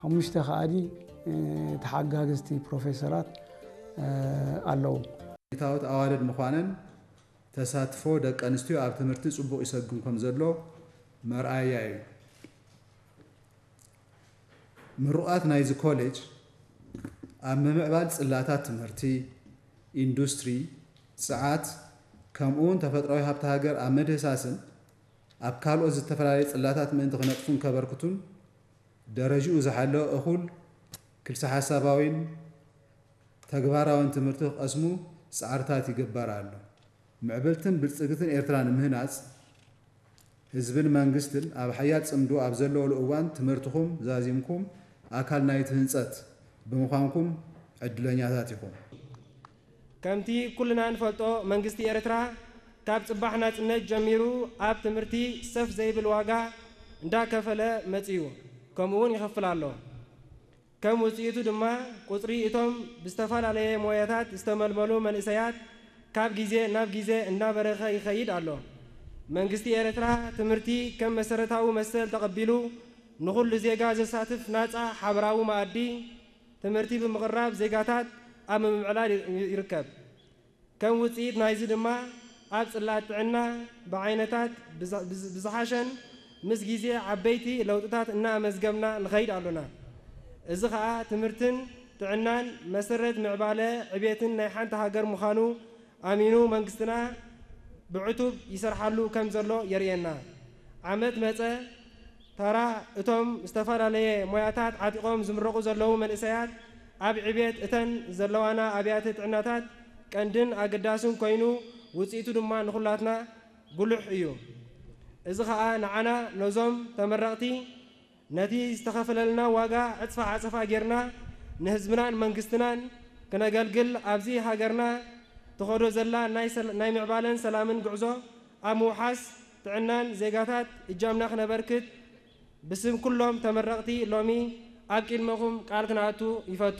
ሓሙሽተ ከኣዲ ተሓጋግዝቲ ፕሮፌሰራት ኣለዉ። ዲጂታውት ኣዋልድ ምዃነን ተሳትፎ ደቂ ኣንስትዮ ኣብ ትምህርቲ ጽቡቕ ይሰግም ከም ዘሎ መርኣያ እዩ። ምሩቓት ናይዚ ኮሌጅ ኣብ ምምዕባል ጽላታት ትምህርቲ፣ ኢንዱስትሪ፣ ጽዓት፣ ከምኡውን ተፈጥራዊ ሃብቲ ሃገር ኣብ ምድህሳስን ኣብ ካልኦት ዝተፈላለየ ጽላታት ምእንቲ ክነጥፉን ከበርክቱን ደረጅኡ ዝሓለወ እኹል ክልሰ ሓሳባዊን ተግባራውን ትምህርቲ ክቐስሙ ጻዕርታት ይግበር ኣሎ። ምዕብልትን ብልጽግትን ኤርትራ ንምህናጽ ህዝብን መንግስትን ኣብ ሓያል ጽምዶ ኣብ ዘለወሉ እዋን ትምህርትኹም ዛዚምኩም ኣካል ናይቲ ህንጸት ብምዃንኩም ዕድለኛታት ኢኹም። ከምቲ ኩልና ንፈልጦ መንግስቲ ኤርትራ ካብ ጽባሕ ናጽነት ጀሚሩ ኣብ ትምህርቲ ሰፍ ዘይብል ዋጋ እንዳከፈለ መጺኡ፣ ከምኡውን ይኸፍል ኣሎ። ከም ውጽኢቱ ድማ ቁጽሪ እቶም ብዝተፈላለየ ሞያታት ዝተመልመሉ መንእሰያት ካብ ግዜ ናብ ግዜ እናበረኸ ይኸይድ ኣሎ። መንግስቲ ኤርትራ ትምህርቲ ከም መሰረታዊ መሰል ተቐቢሉ ንኹሉ ዜጋ ዘሳትፍ ናጻ ሓበራዊ መኣዲ ትምህርቲ ብምቕራብ ዜጋታት ኣብ ምምዕላል ይርከብ። ከም ውጽኢት ናይዚ ድማ ኣብ ጽላት ጥዕና ብዓይነታት ብዝሓሸን ምስ ግዜ ዓበይቲ ለውጥታት እናኣመዝገብና ንኸይድ ኣሎና። እዚ ኸኣ ትምህርትን ጥዕናን መሰረት ምዕባለ ዕቤትን ናይ ሓንቲ ሃገር ምዃኑ ኣሚኑ መንግስትና ብዕቱብ ይሰርሓሉ ከም ዘሎ የርእየና። ዓመት መጸ ተራ እቶም ዝተፈላለየ ሞያታት ዓጢቖም ዝምረቑ ዘለዉ መንእሰያት ኣብ ዕቤት እተን ዘለዋና ኣብያተ ጥዕናታት ቀንድን ኣገዳስን ኮይኑ ውጽኢቱ ድማ ንኹላትና ጉሉሕ እዩ። እዚ ኸኣ ንዓና ነዞም ተመረቕቲ ነቲ ዝተኸፈለልና ዋጋ ዕጽፋ ዓጸፋ ጌርና ንህዝብናን መንግስትናን ክነገልግል ኣብዚ ሃገርና ትኸዶ ዘላ ናይ ምዕባለን ሰላምን ጉዕዞ ኣብ ምውሓስ ጥዕናን ዜጋታት እጃምና ክነበርክት ብስም ኩሎም ተመረቕቲ ሎሚ ኣብ ቅድመኹም ቃል ክነኣቱ ይፈቱ።